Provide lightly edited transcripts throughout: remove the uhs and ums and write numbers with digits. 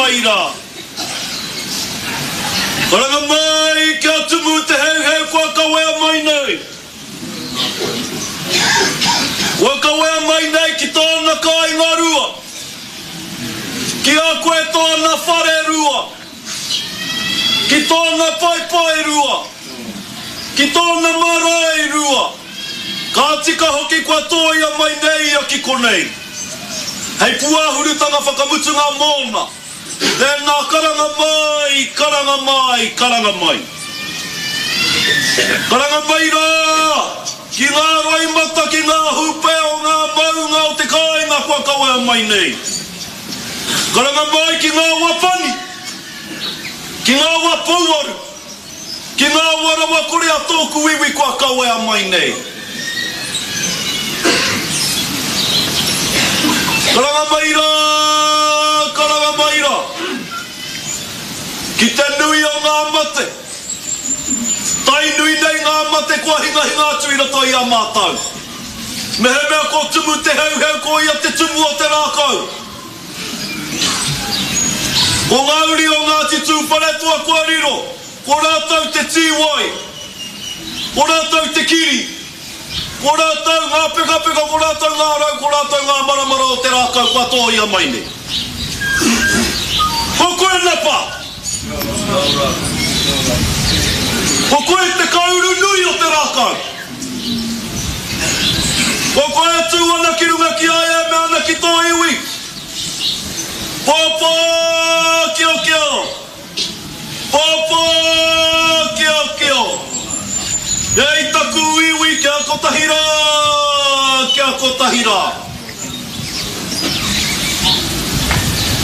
mai rā. Karanga mai kia tumu te heuheu kua kawea mai nei. Kua kawea mai nei ki tōna kāinga rua. Ki a koe tōna whare rua. Ki tōna paepae rua. Ki tōna marae rua. Ka tika hoki kua tōia mai nei ia ki konei. Hei pūāhurutanga whakamutunga mōna. Tēnā karanga mai, karanga mai, karanga mai. Karanga mai rā ki ngā roimata, ki ngā hūpē o ngā maunga o te kāinga kua kawea mai nei. Karanga mai ki ngā wā pani, ki ngā wā pouaru, ki ngā wā rawakore a tōku iwi kua kawea mai nei. Karanga mai rā, karanga mai rā, ki te nui o ngā mate, tainui nei ngā mate kua hingahinga atu i roto i a mātou. Mehemea ko Tumu te Heuheu ko ia te tumu o te rākau. Ko ngā uri o Ngāti Tūwharetoa kua riro, ko rātou te tīwai, ko rātou te kiri, ko rātou ngā pekapeka, ko rātou ngā rau, ko rātou ngā maramara o te rākau kua tōia mai nei. Ko koe Napa! Ko koe te kauru nui o te rākau. Ko koe e tū ana ki runga ki a ia e mea ana ki tō iwi, Pōpō kiokio! Pōpō kiokio! E i taku iwi kia kotahi rā, kia kotahi rā.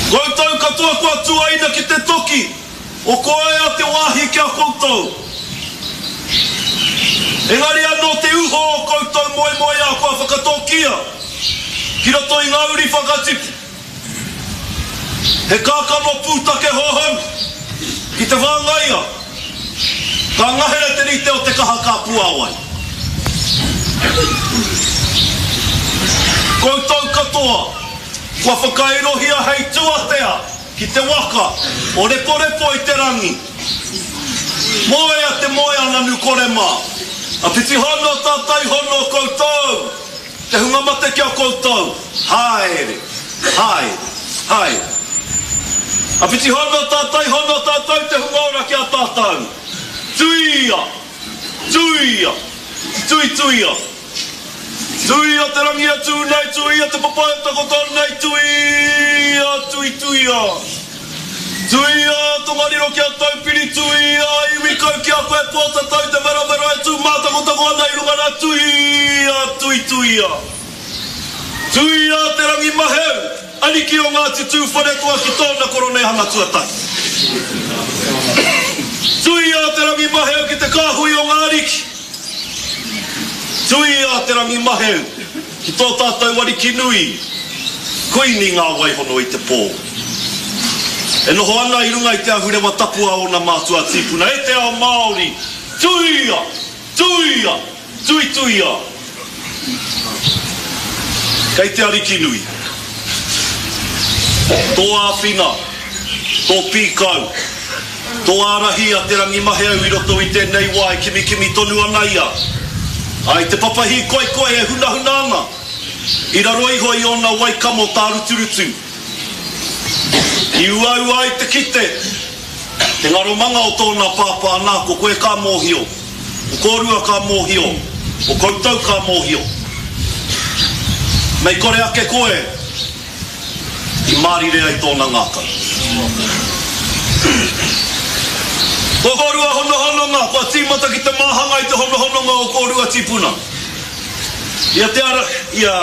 Koutou katoa kua tuaina ki te toki o koea te wāhi ki a koutou. Engari anō te uho o koutou moemoeā kua whakatōkia ki roto i ngā uri whakatipu. He kākano pūtake hōhonu ki te whāngaia, ka ngahere te rite o te kaha ka puāwai. Koutou katoa kua whakairohia hei tuatea ki te waka o Reporepo i te rangi. Moea te moe a Nanukore mā, a Pitihono tātai hono koutou. Te hunga mate ki a koutou, haere, haere, haere. Awhiti hono tātai hono tātou te hunga ora ki a tātou. Tuia! Tuia! Tuituia! Tuia te rangi e tū nei, tuia te papa e takoto nei, tuia, tuituia! Tuia Tongariro ki a Taupiri, tuia Iwikau ki a koe Pōtatau te werawera e tū mātakotako ana i runga rā, tuia, tuituia. Tuia Te Rangimaheu, ariki o Ngāti Tūwharetoa ki tōna koroneihana tuatahi. Tuia Te Rangimaheu ki te kāhui o ngā ariki. Tuia Te Rangimaheu ki tō tātou ariki nui, Kuini Ngā Waihono i te pō. E noho ana i runga i te ahurewa tapu a ōna mātua tīpuna, e te ao Māori, tuia! Tuia! Tuituia! Kei te Ariki nui. Tō āwhina, tō pīkau, tō ārahi a Te Rangimaheau i roto i tēnei wā e kimikimi tonu ana ia. Ā, i te papa hīkoikoi e hunahuna ana i raro iho i ōna wai kamo tāruturutu. I uaua ai te kite te ngaromanga o tōna pāpā, nā, ko koe ka mōhio. Ko kōrua ka mōhio, ko koutou ka mōhio. Mei kore ake koe i mārire ai tōna ngākau. Ko kōrua honohononga, kua tīmata ki te māhanga i te honohononga o kōrua tīpuna. I a Te Ara, i a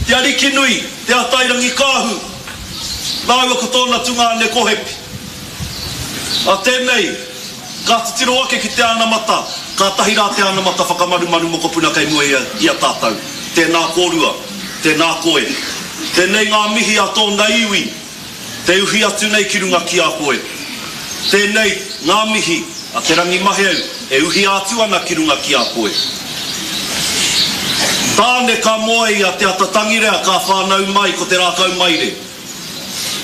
Te Arikinui, Te Atairangikaahu, rāua ko tōna tungāne ko Hepi. A tēnei, Ka titiro ake ki te anamata, kātahi rā te anamata whakamarumaru mokopuna kei mua i a tātou. Tēnā kōrua, tēnā koe. Tēnei ngā mihi a tōna iwi, te uhi atu nei ki runga ki a koe. Tēnei ngā mihi a Te Rangimaheu e uhia atu ana ki runga ki a koe. Tāne ka moe i a Te Atatangirea ka whānau mai ko Te Rākaumaire.